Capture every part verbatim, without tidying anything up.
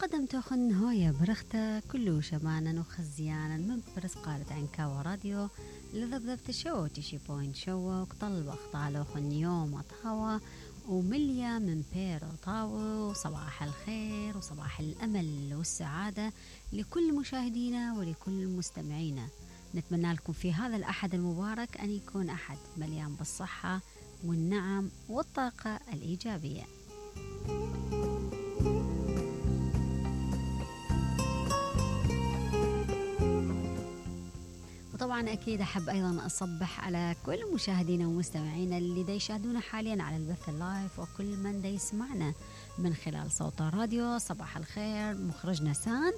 وقدمت خن هايا برخته كله شمانا وخزيانا من برس قالت عنكاوة راديو لذبذبت شو تشي بوينت شو وقطل وقطالو خن يوم وطهوى ومليا من بير وطاوة وصباح الخير وصباح الأمل والسعادة لكل مشاهدينا ولكل مستمعينا. نتمنى لكم في هذا الأحد المبارك أن يكون أحد مليان بالصحة والنعم والطاقة الإيجابية. وطبعا أكيد أحب أيضا أصبح على كل مشاهدينا ومستمعينا اللي دا يشاهدونا حاليا على البث اللايف وكل من دا يسمعنا من خلال صوت الراديو. صباح الخير مخرجنا سان،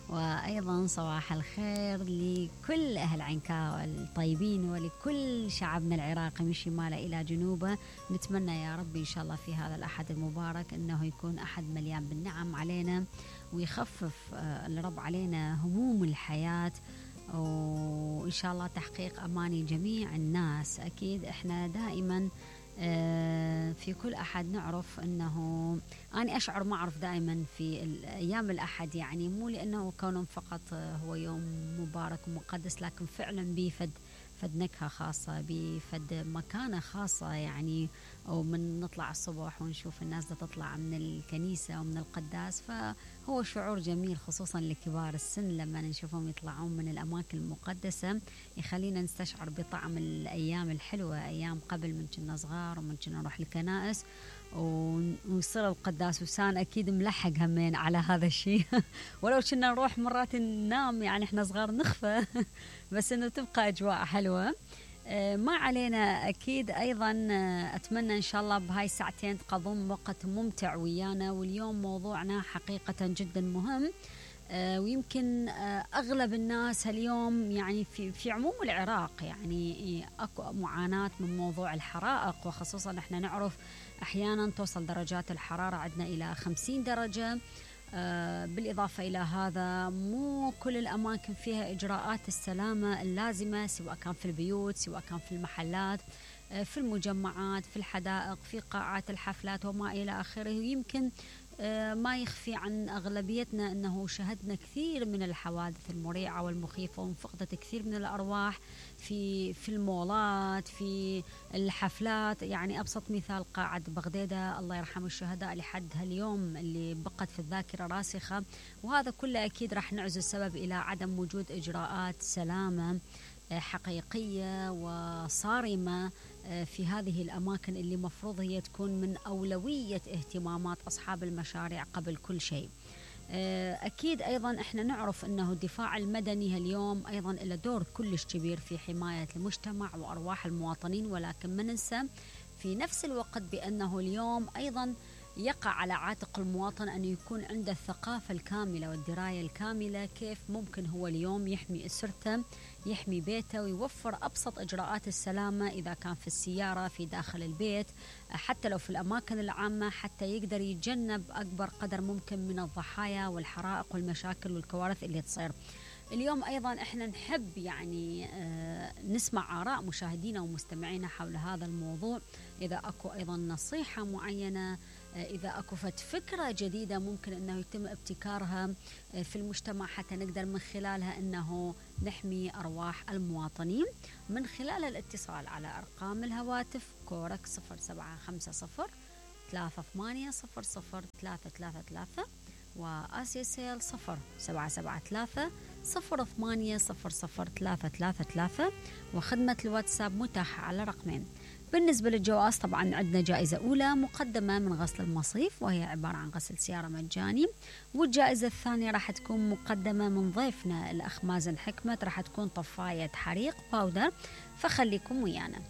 وأيضا صباح الخير لكل أهل عنكاوة الطيبين ولكل شعبنا العراقي من شماله إلى جنوبه. نتمنى يا رب إن شاء الله في هذا الأحد المبارك أنه يكون أحد مليان بالنعم علينا ويخفف الرب علينا هموم الحياة، وإن شاء الله تحقيق أماني جميع الناس. أكيد إحنا دائما في كل أحد نعرف أنه أنا أشعر ما أعرف دائما في الأيام الأحد، يعني مو لأنه كونه فقط هو يوم مبارك ومقدس، لكن فعلا بيفد فد نكهة خاصة، بفد مكانة خاصة، يعني ومن نطلع الصبح ونشوف الناس دا تطلع من الكنيسة ومن القداس، فهو شعور جميل خصوصا لكبار السن لما نشوفهم يطلعون من الأماكن المقدسة، يخلينا نستشعر بطعم الأيام الحلوة، أيام قبل من كنا صغار ومن كنا نروح الكنائس ونصير القداس. وسان أكيد ملحق همين على هذا الشيء ولو كنا نروح مرات ننام، يعني إحنا صغار نخفى بس إنه تبقى أجواء حلوة. ما علينا. أكيد أيضا أتمنى إن شاء الله بهاي الساعتين تقضون وقت ممتع ويانا. واليوم موضوعنا حقيقة جدا مهم، ويمكن أغلب الناس اليوم يعني في في عموم العراق يعني أكو معاناة من موضوع الحرائق، وخصوصا إحنا نعرف أحيانا توصل درجات الحرارة عندنا إلى خمسين درجة. بالإضافة إلى هذا مو كل الأماكن فيها إجراءات السلامة اللازمة، سواء كان في البيوت سواء كان في المحلات في المجمعات في الحدائق في قاعات الحفلات وما إلى آخره. يمكن ما يخفي عن أغلبيتنا أنه شهدنا كثير من الحوادث المريعة والمخيفة وانفقدت كثير من الأرواح في في المولات في الحفلات. يعني أبسط مثال قاعة بغدادة الله يرحم الشهداء لحد هاليوم اللي بقت في الذاكرة راسخة، وهذا كله أكيد راح نعزو السبب إلى عدم وجود إجراءات سلامة حقيقية وصارمة في هذه الأماكن اللي مفروض هي تكون من أولوية اهتمامات أصحاب المشاريع قبل كل شيء. أكيد أيضا إحنا نعرف أنه الدفاع المدني اليوم أيضا له دور كلش كبير في حماية المجتمع وأرواح المواطنين، ولكن ما ننسى في نفس الوقت بأنه اليوم أيضا يقع على عاتق المواطن أن يكون عنده الثقافة الكاملة والدراية الكاملة كيف ممكن هو اليوم يحمي أسرته يحمي بيته ويوفر أبسط إجراءات السلامة، إذا كان في السيارة في داخل البيت حتى لو في الأماكن العامة، حتى يقدر يتجنب أكبر قدر ممكن من الضحايا والحرائق والمشاكل والكوارث اللي تصير. اليوم أيضا إحنا نحب يعني نسمع آراء مشاهدينا ومستمعينا حول هذا الموضوع. إذا أكو أيضا نصيحة معينة، إذا أكو فكرة جديدة ممكن أنه يتم ابتكارها في المجتمع حتى نقدر من خلالها أنه نحمي أرواح المواطنين، من خلال الاتصال على أرقام الهواتف كورك صفر سبعة خمسة صفر ثلاثة ثمانية صفر صفر ثلاثة ثلاثة ثلاثة وآسيا سيل صفر سبعة سبعة ثلاثة صفر ثمانية صفر صفر ثلاثة ثلاثة ثلاثة، وخدمة الواتساب متاحة على رقمين. بالنسبة للجوائز طبعا عندنا جائزة أولى مقدمة من غسل المصيف وهي عبارة عن غسل سيارة مجاني، والجائزة الثانية راح تكون مقدمة من ضيفنا الأخ مازن حكمت، راح تكون طفاية حريق باودر، فخليكم ويانا.